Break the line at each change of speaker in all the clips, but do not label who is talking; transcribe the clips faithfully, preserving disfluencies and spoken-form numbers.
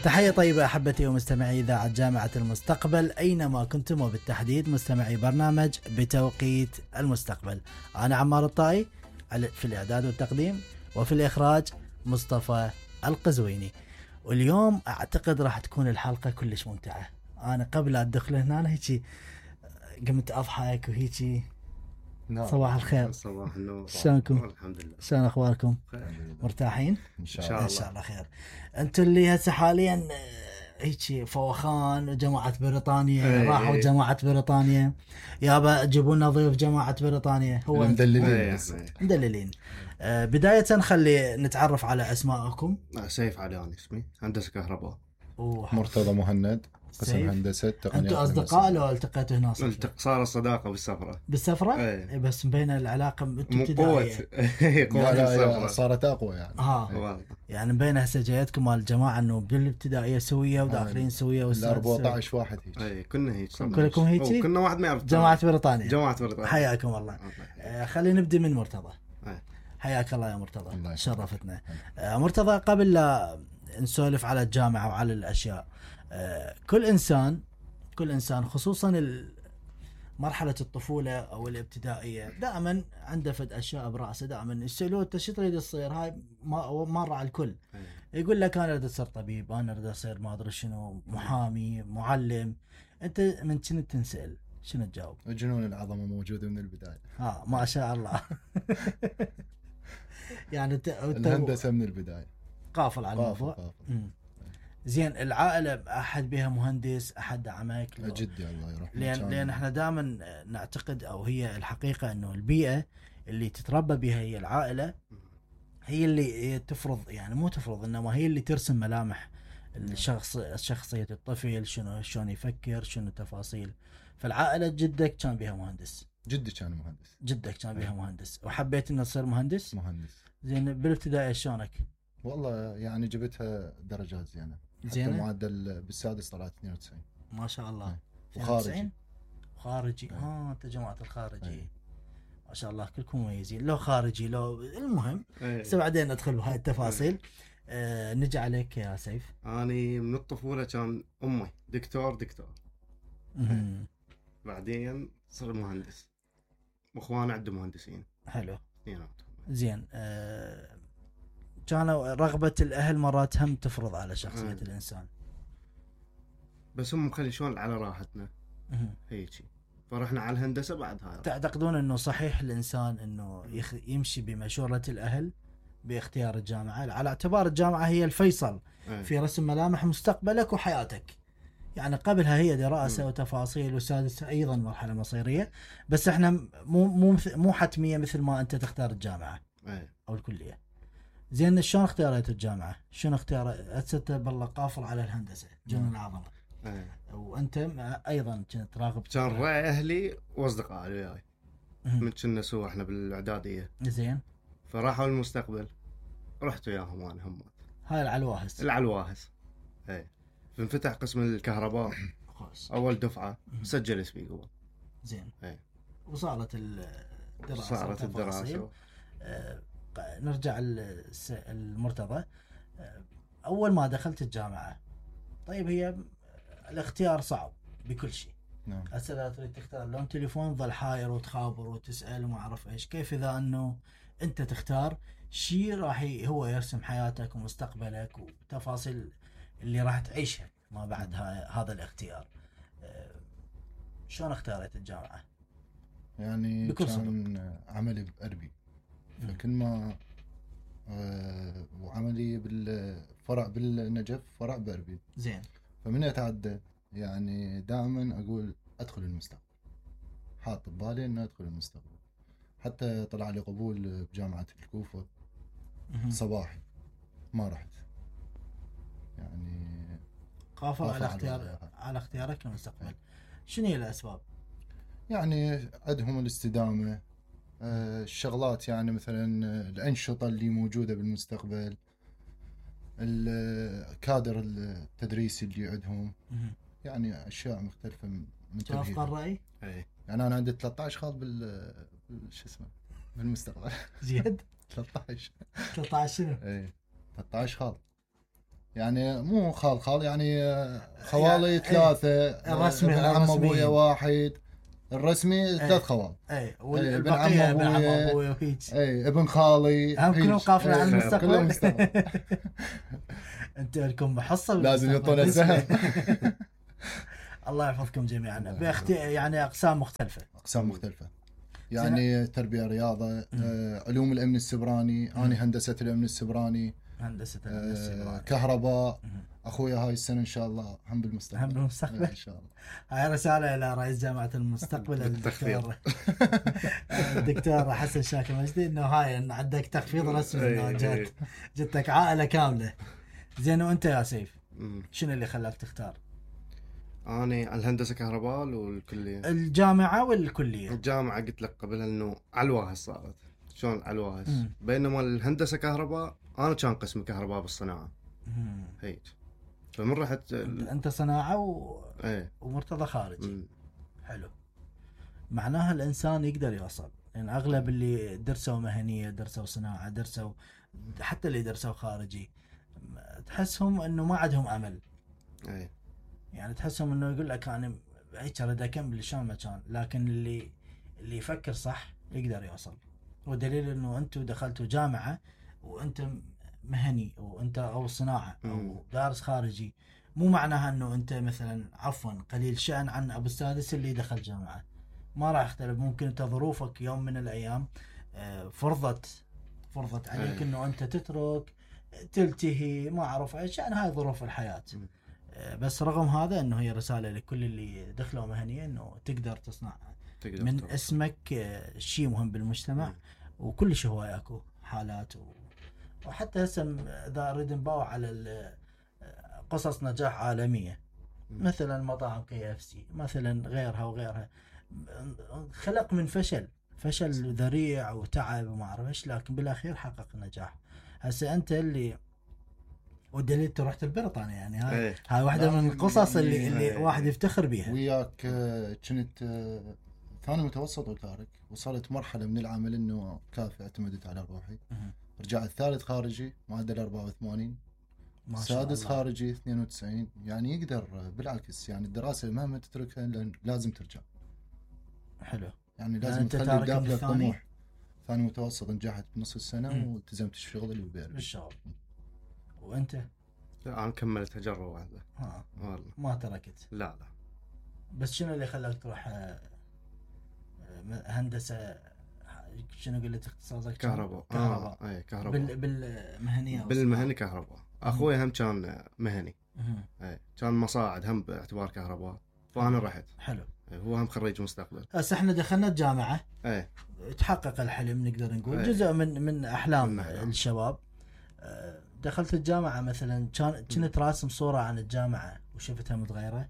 تحية طيبة أحبتي ومستمعي إذاعة جامعة المستقبل أينما كنتم، وبالتحديد مستمعي برنامج بتوقيت المستقبل. أنا عمار الطائي في الإعداد والتقديم، وفي الإخراج مصطفى القزويني. واليوم أعتقد راح تكون الحلقة كلش ممتعة. أنا قبل أدخل هنا هيك قمت أضحك وهيك. صباح الخير.
صباح النور.
شلونكم؟
الحمد لله.
شلون أخباركم؟ مرتاحين؟
إن شاء الله.
إن شاء الله خير. أنتوا اللي هسه حاليا هيك فوخان جماعة بريطانيا،
ايه
راحوا
ايه.
جماعة بريطانيا يابا جيبوا لنا ضيوف جماعة بريطانيا. هو
مدللين
ايه
بس.
ايه.
مدللين. آه بداية خلي نتعرف على أسماءكم.
آه، سيف عليان اسمي، هندسة كهرباء.
مرتضى مهند، قسم
سيف.
هندسة تقنيات.
أنتوا أصدقاء لو التقيتوا هنا صدفة؟
التق... صار الصداقة بالسفرة.
بالسفرة؟
ايه.
إيه بس مبين العلاقة انتوا
مو قوة.
ابتدائية.
قوة
لا لا
السفرة.
صارت أقوى يعني.
ها
والله.
يعني مبين هسه جايتكم مال الجماعة انه بالابتدائية سوية وداخلين سوية
ال أربعة عشر واحد هيك.
ايه كنا هيك. صرنا
كلكم
هيك.
هيك؟
أو كنا واحد ما يعرف.
جماعة بريطانيا.
جماعة بريطانيا.
حياكم الله. آه خلينا نبدأ من مرتضى.
ايه.
حياك الله يا مرتضى.
الله يسلمك.
شرفتنا. آه مرتضى، قبل لا نسولف على الجامعة وعلى الأشياء، آه كل إنسان كل إنسان خصوصا مرحلة الطفولة أو الابتدائية دائما عنده فد أشياء برأسه، دائما يسألوه أنت شو تريد تصير؟ هاي ما مرة على الكل.
ايه.
يقول لك أنا أريد أصير طبيب، أنا أريد أصير ما أدري شنو، محامي، معلم. أنت من شنو تنسأل شنو تجاوب؟
جنون العظمة موجودة من البداية.
ها ما شاء الله. يعني ت...
الهندسة من البداية.
قافل على
قافل
الموضوع.
قافل.
مم. زين، العائلة أحد بها مهندس، أحد دعمك؟ لو-
جدي الله يرحمه.
لأن
كان-
لأن احنا دائما نعتقد أو هي الحقيقة إنه البيئة اللي تتربى بها هي العائلة، هي اللي هي تفرض، يعني مو تفرض إنما هي اللي ترسم ملامح الشخص شخصية الطفل، شنو شلون يفكر، شنو تفاصيل. فالعائلة جدك كان بها مهندس،
جدي كان مهندس.
جدك كان بها مهندس، وحبيت إنه تصير مهندس.
مهندس.
زين، بالابتدائي شلونك؟
والله يعني جبتها درجات زينة. حتى
زينة؟
معدل بالسادس طلعت اثنين وتسعين.
ما شاء الله.
إيه.
اثنين
وخارجي.
وتسعين؟ خارجي.
إيه.
اه انت جماعة الخارجي.
إيه.
ما شاء الله كلكم مميزين، لو خارجي لو المهم.
ايه.
هسه بعدين ندخل بهاي التفاصيل. آه نجي عليك يا سيف.
اني من الطفولة كان امي دكتور دكتور.
مهم.
بعدين صار مهندس. واخواني عندهم مهندسين.
حلو.
اثنيناتهم.
زين. آه كانوا رغبة الأهل مرات هم تفرض على شخصية
آه.
الإنسان.
بس هم مخلي شلون على راحتنا
مهم.
هيجي. فرحنا على الهندسة بعد هاي.
تعتقدون أنه صحيح الإنسان أنه يخ... يمشي بمشورة الأهل باختيار الجامعة، على اعتبار الجامعة هي الفيصل
ايه.
في رسم ملامح مستقبلك وحياتك؟ يعني قبلها هي دراسة
مم.
وتفاصيل، وسادسة أيضا مرحلة مصيرية، بس احنا مو مو مث- مو حتمية مثل ما أنت تختار الجامعة
ايه.
أو الكلية. زين، شلون اختاريت الجامعة؟ شنو اختار؟ أنت بالله قافل على الهندسة جنون العظمة،
ايه.
وأنت مع- أيضا كنت راغب.
كان رأي اهلي واصدقائي وياي
مهم.
من كنا سوا احنا بالاعدادية.
زين،
فراحوا المستقبل رحت وياهم انا هم
هاي العلواهس.
العلواهس. ايه. فانفتح قسم الكهرباء
خوش.
اول دفعة سجل اسمي قبل.
زين.
ايه.
وصارت الدراسة
صارت
والتفاصيل.
الدراسة.
آه، ق- نرجع الس- المرتضى. آه، أول ما دخلت الجامعة، طيب هي الاختيار صعب بكل شيء.
نعم.
هسه لا تريد تختار لون تليفون، ظل حاير وتخابر وتسأل وما أعرف إيش. كيف إذا أنه أنت تختار شيء راح ي- هو يرسم حياتك ومستقبلك وتفاصيل اللي راح تعيشها ما بعد ها- هذا الاختيار؟ آه، شلون اختاريت الجامعة؟
يعني
بكل
كان عملي بأربي، فكل ما آه وعملي بالفرع بالنجف فرع بأربي.
زين.
فمن يتعدى يعني دائما أقول أدخل المستقبل، حاط ببالي أن أدخل المستقبل. حتى طلع لي قبول بجامعة الكوفة
مهم.
صباحي، ما رحت يعني.
قافل
قافل
على
على
اختيار
الوضع.
على اختيارك للمستقبل. شنو هي الأسباب؟
يعني عندهم الاستدامة، آه، الشغلات يعني مثلا الأنشطة اللي موجودة بالمستقبل، الكادر التدريسي اللي عندهم،
مهم.
يعني أشياء مختلفة من
توافق
تمهيدهم.
الرأي؟
ايه.
يعني أنا عندي ثلاثة عشر خاض بال بال- شو اسمه بالمستقبل.
زيد.
ثلاثة عشر.
ثلاثة عشر شنو؟
ايه ثلاثة عشر خاض. يعني مو خال خال يعني خوالي
يعني
ثلاثة،
الرسمي
ابن عم ابويا
الرسميين.
واحد، الرسمي ثلاث خوال.
اي
ابن
والبقيه
عم
ابن عم
أبويا.
ابوي وهيك.
اي ابن خالي
هم كلهم
هيج.
قافلين على
إيه،
المستقبل.
كلهم مستقبل.
انتوا لكم محصه
لازم
بالمستقبل.
يعطونا السهم.
الله يحفظكم جميعا
الله
باختي يعني اقسام مختلفه.
اقسام مختلفه يعني تربيه رياضه، آه، علوم الامن السبراني، انا هندسه الامن السبراني،
هندسه الامن
آه،
السبراني،
كهرباء. اخويا هاي السنه ان شاء الله هم بالمستقبل.
هم بالمستقبل
ان شاء الله.
هاي رساله الى رئيس جامعه المستقبل الدكتور الدكتور حسن شاكر مجدي، انه هاي إن عندك تخفيض رسمي، انه جت جتك عائله كامله. زين وانت يا سيف شنو اللي خلاك تختار؟
أنا الهندسة كهرباء والكلية
الجامعة والكلية؟
الجامعة قلت لك قبلها إنه علواها صارت شلون علواها، بينما الهندسة كهرباء أنا كان قسم كهرباء بالصناعة هيك، فمن رحت ال...
أنت صناعة و...
ايه.
ومرتضى خارجي.
مم.
حلو. معناها الإنسان يقدر يوصل، يعني أغلب اللي درسوا مهنية، درسوا صناعة، درسوا حتى اللي درسوا خارجي، تحسهم إنه ما عندهم أمل.
ايه.
يعني تحسهم انه يقول لك انا هيك اريد اكمل شلون ما كان، لكن اللي اللي يفكر صح يقدر يوصل. ودليل انه انتم دخلتوا جامعه وانت مهني وانت او صناعه او دارس خارجي، مو معناها انه انت مثلا عفوا قليل شأن عن ابو السادس اللي دخل جامعه. ما راح يختلف، ممكن انت ظروفك يوم من الايام فرضت فرضت عليك انه انت تترك تلتهي ما اعرف ايش، يعني هاي ظروف الحياه. بس رغم هذا انه هي رساله لكل اللي دخلوا مهنيه انه تقدر تصنع تقدر من تقدر. اسمك شيء مهم بالمجتمع. م. وكل شيء هواي اكو حالات و... وحتى هسه اذا اريد نباوع على قصص نجاح عالميه، م. مثلا مطاعم كي اف سي مثلا، غيرها وغيرها، خلق من فشل فشل ذريع وتعب وما اعرف ايش، لكن بالاخير حقق نجاح. هسه انت اللي والدليل انت رحت البريطانيا، يعني هاي ايه. هاي واحده من القصص اللي ايه. اللي ايه. واحد يفتخر بيها.
وياك كنت ثاني متوسط وتارك، وصلت مرحله من العمل انه كافي اعتمدت على روحي. اه. رجعت ثالث خارجي معدل أربعة وثمانين، سادس خارجي اثنين وتسعين. يعني يقدر بالعكس، يعني الدراسه مهما تتركها لازم ترجع.
حلو.
يعني لازم يعني تخلي بداخلك طموح. ثاني متوسط نجحت بنص السنه م. والتزمت الشغل اللي بيرجع
بالشغل. وانت؟
لا انا كملت تجربه واحده.
ها والله ما تركت؟
لا لا.
بس شنو اللي خلاك تروح هندسه؟ شنو قلت اختصاصك؟
كهرباء.
كهرباء.
اه اي كهرباء.
بال بالمهنيه
بالمهني كهرباء. اخوي هم كان مهني. اي كان مصاعد هم باعتبار كهرباء، فانا رحت.
حلو.
هو هم خريج مستقبل.
هسه احنا دخلنا الجامعه.
ايه.
تحقق الحلم نقدر نقول. ايه. جزء من من احلام من الشباب. دخلت الجامعة مثلا كان كنت راسم صورة عن الجامعة وشفتها متغيرة.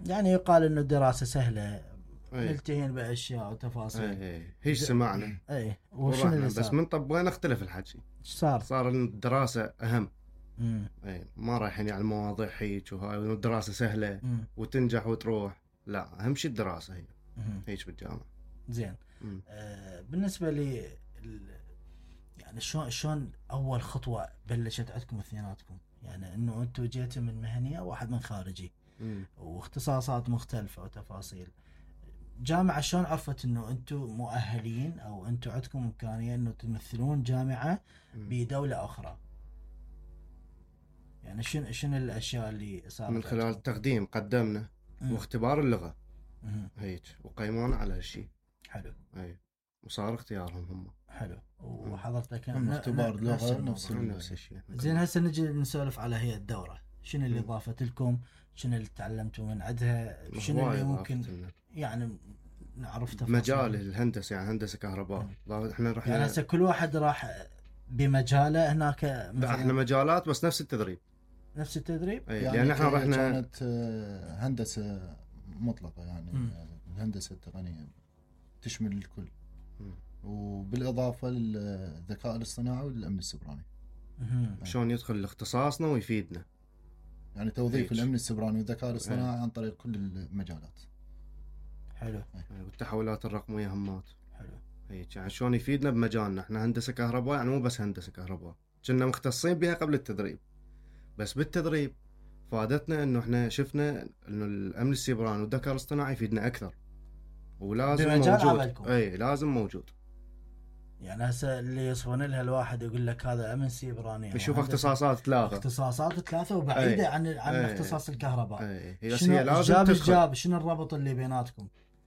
يعني يقال انه الدراسة سهلة، نلتهين باشياء وتفاصيل.
اي هيش سمعنا.
اي وشنو اللي صار؟
بس من طبقنا اختلف الحكي.
ايش صار؟
صار الدراسة اهم. امم اي ما رايحين على المواضيع هيك وهاي، والدراسة سهلة مم. وتنجح وتروح. لا اهم شيء الدراسة هي. هيك بالجامعة.
زين. آه بالنسبة لي يعني شلون شلون اول خطوه بلشت عندكم اثنيناتكم؟ يعني انه انتم جيتوا من مهنيه واحد من خارجي. م. واختصاصات مختلفه وتفاصيل. جامعه شلون عرفت انه انتم مؤهلين او انتم عندكم امكانيه انه تمثلون جامعه م. بدوله اخرى؟ يعني شنو شنو الاشياء اللي صارت؟
من خلال التقديم قدمنا م. واختبار اللغه م. هيك وقيمونا على هالشيء.
حلو.
اي وصار اختيارهم هم.
حلو. وحضرتك
اختبار لغه نفس
نفس الشيء.
زين هسه نجي نسولف على هي الدوره، شنو اللي ضافت لكم؟ شنو اللي تعلمتوا من عندها؟ شنو اللي ممكن يعني نعرف تفاصيل
مجال الهندسه؟ يعني هندسه كهرباء. احنا رحنا
يعني هسه كل واحد راح بمجاله هناك
مثلا. احنا مجالات بس نفس التدريب.
نفس التدريب؟
يعني لان احنا رحنا كانت هندسه مطلقه، يعني م. الهندسه التقنيه تشمل الكل. م. وبالإضافة للذكاء الاصطناعي والأمن السبراني.
شلون يدخل لاختصاصنا ويفيدنا؟
يعني توظيف هيك. الأمن السبراني والذكاء الاصطناعي عن طريق كل المجالات.
حلو.
والتحولات الرقمية همات.
حلو.
هيك يعني شلون يفيدنا بمجالنا. احنا هندسة كهرباء يعني مو بس هندسة كهرباء، كنا مختصين بها قبل التدريب. بس بالتدريب فادتنا انه احنا شفنا انه الامن السيبراني والذكاء الاصطناعي يفيدنا اكثر ولازم
بمجال
موجود.
عملكم.
اي لازم موجود.
يعني هسه اللي يصفون لها الواحد يقول لك هذا امن سيبراني
يشوف اختصاصات ثلاثه
اختصاصات ثلاثه وبعيده
أي.
عن عن
أي.
اختصاص الكهرباء.
اي هي
شنو
هي لازم
جاب
تدخل.
جاب شنو الربط اللي بيناتكم؟